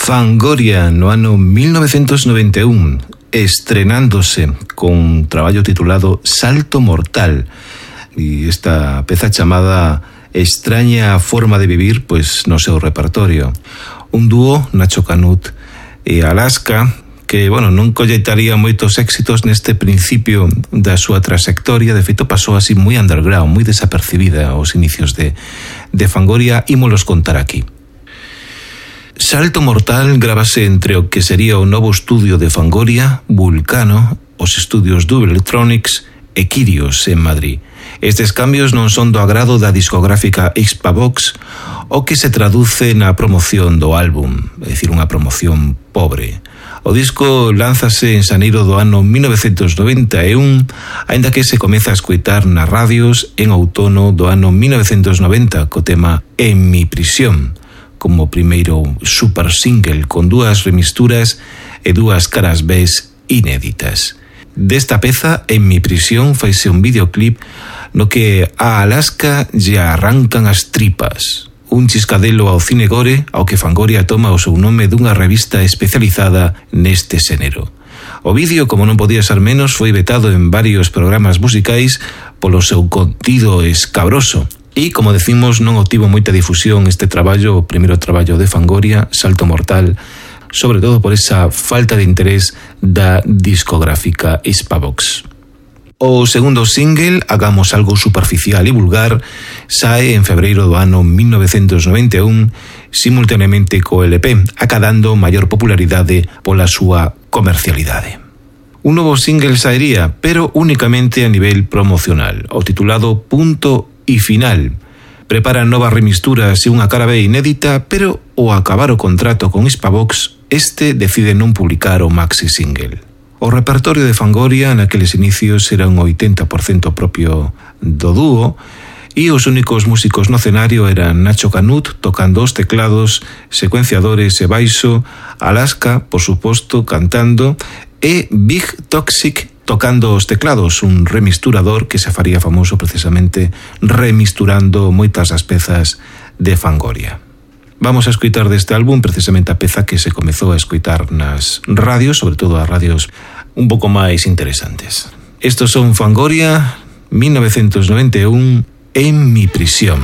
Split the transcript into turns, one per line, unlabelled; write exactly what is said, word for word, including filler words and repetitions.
Fangoria no ano mil novecentos noventa e un, estrenándose con un traballo titulado Salto Mortal, e esta peza chamada Extraña Forma de Vivir, pois no seu repertorio. Un dúo, Nacho Canut e Alaska, que, bueno, non colleitaría moitos éxitos neste principio da súa trayectoria. De feito, pasou así moi underground, moi desapercibida aos inicios de, de Fangoria, ímolos contar aquí. Salto Mortal gravase entre o que sería o novo estudio de Fangoria, Vulcano, os estudios Double Electronics e Kyrios en Madrid. Estes cambios non son do agrado da discográfica Xpavox, o que se traduce na promoción do álbum, é dicir, unha promoción pobre. O disco lánzase en xaneiro do ano mil novecentos noventa e un, aínda que se comeza a escoitar nas radios en outono do ano mil novecentos noventa co tema En mi prisión, como primeiro super single con dúas remisturas e dúas caras Bs inéditas. Desta peza, En mi prisión, faise un videoclip no que a Alaska lle arrancan as tripas. Un chiscadelo ao cine gore ao que Fangoria toma o seu nome dunha revista especializada neste xénero. O vídeo, como non podía ser menos, foi vetado en varios programas musicais polo seu contido escabroso. E, como decimos, non obtivo moita difusión este traballo, o primeiro traballo de Fangoria, Salto Mortal, sobre todo por esa falta de interés da discográfica Xpavox. O segundo single, Hagamos algo superficial e vulgar, sae en febreiro do ano mil novecentos noventa e un, simultaneamente co L P, acadando maior popularidade pola súa comercialidade. Un novo single saería, pero únicamente a nivel promocional, o titulado Punto y Final. Preparan novas remisturas e unha cara B inédita, pero ao acabar o contrato con Xpavox, este decide non publicar o maxi single. O repertorio de Fangoria naqueles inicios era un oitenta por cento propio do dúo, e os únicos músicos no escenario eran Nacho Canut tocando os teclados, secuenciadores e baixo, Alaska, por suposto, cantando, e Big Toxic tocando os teclados, un remisturador que se faría famoso precisamente remisturando moitas das pezas de Fangoria. Vamos a escoitar deste álbum precisamente a peza que se comezou a escoitar nas radios, sobre todo as radios un pouco máis interesantes. Estos son Fangoria, mil novecentos noventa e un, En mi prisión.